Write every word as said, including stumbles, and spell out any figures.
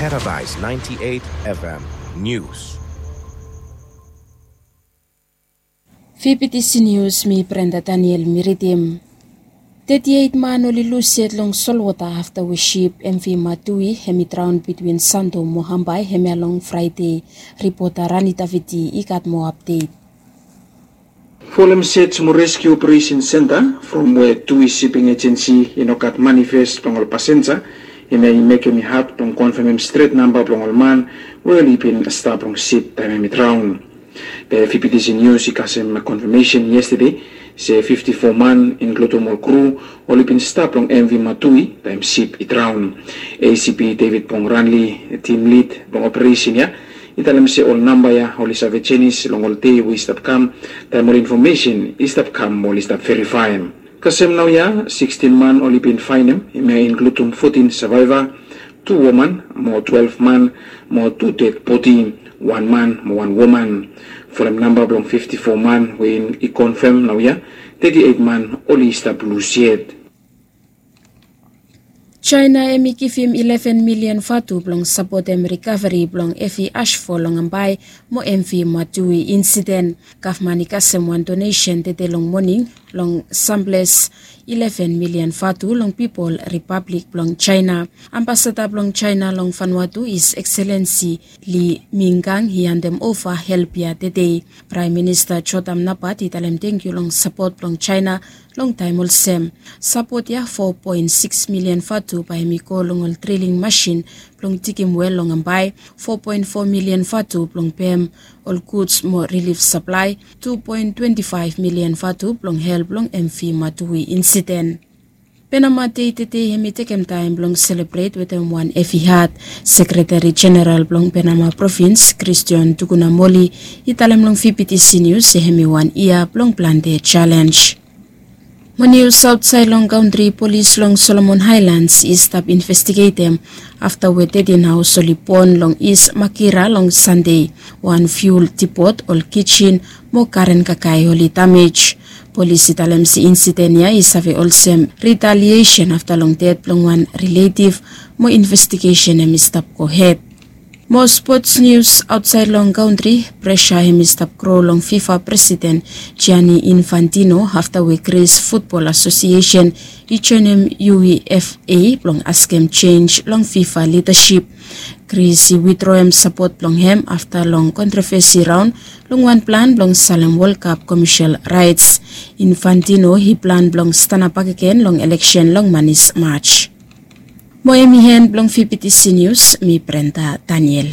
Paradise ninety-eight F M News. Fifty News, mi Brenda Daniel mi ridim. Thirty-eight man oli lus yet long solwota afta we sip M V Matui hem i draon bitwin Santo mo Hambai hemia long Fraide. Ripota Rani Davidi i gat moa apdet. Folem sej mo reskiu operesen senta from we Tui Siping Ejensi i no gat manifes blong ol pasenja, hemia i mekem i had blong konfemem stret namba blong ol man we oli bin stap long sip taem hem i draon. Be Fifty News i kasem konfemesen yestede se fifti fo man, inkludum ol kru, oli bin stap long M V Matui taem sip i draon. A C P David Pongranli, tim lid blong operesen ya, i talem se ol namba ya oli save jenis long ol dei we i stap kam, taem ol infomesen i stap kam mo oli stap verifaem. Kasem naoia sikstin man oli bin faenem, hemia i inkludum fotin savaeva, tu woman mo twelef man mo tu ded bodi, wan man mo wan woman. Folem namba blong fifti fo man we i konfem naoia, teti eit man oli stap lus yet. Jaena hem i givim ileven milian vatu blong sapotem rikaveri blong Evi Ashfo long Ambae mo M V Matui insiden. Gavman i kasem wan donesen tede long moning long samples ileven milian vatu long pipol ripablik blong Jaena. Ambasada blong Jaena long Vanuatu, His Excellency Li Mingang, i handem ova help ya tede. Praem Minista Jotam Napat i talem tangkiu long sapot blong Jaena long taem olsem. Sapot ya fo poen sikis milian vatu bae hem i go long ol driling masin blong digim wel long Ambae, fo poen fo milian vatu blong pem ol guds mo rilif saplae, tu poen twenti faef milian vatu blong help long M V Matui insiden. Penama dei tede hem i tekem taem blong selebret wetem wan hevi hat. Sekreteri Jeneral blong Penama Provins, Christian Tukunamoli, i talem long Fifty News se hem i wan yia blong plante jalenj. Mo nius aotsaed long kantri, polis long Solomon Haelans i stap investigetem afta we tetin haos oli bon long Is Makira long Sande. Wan fiul dipot, ol kijen mo karen kakae oli damej. Polis i talem se insiden ya i save olsem ritaliesen afta long ded blong wan riletiv, mo investigesen hem i stap gohed. Mo spots nius aotsaed long kantri, presa hem i stap gro long FIFA presiden Gianni Infantino afta we Gris Futbol Asosiesen i joenem UEFA blong askem jenj long FIFA lidasip. Gris i widroem sapot blong hem afta long kontrovesi raon long wan plan blong salem Wol Kap komesyal raets. Infantino i plan blong stanap bakegen long eleksen long manis Maj. Mo hem i hen blong Fifty Nius, mi Brenda Daniel.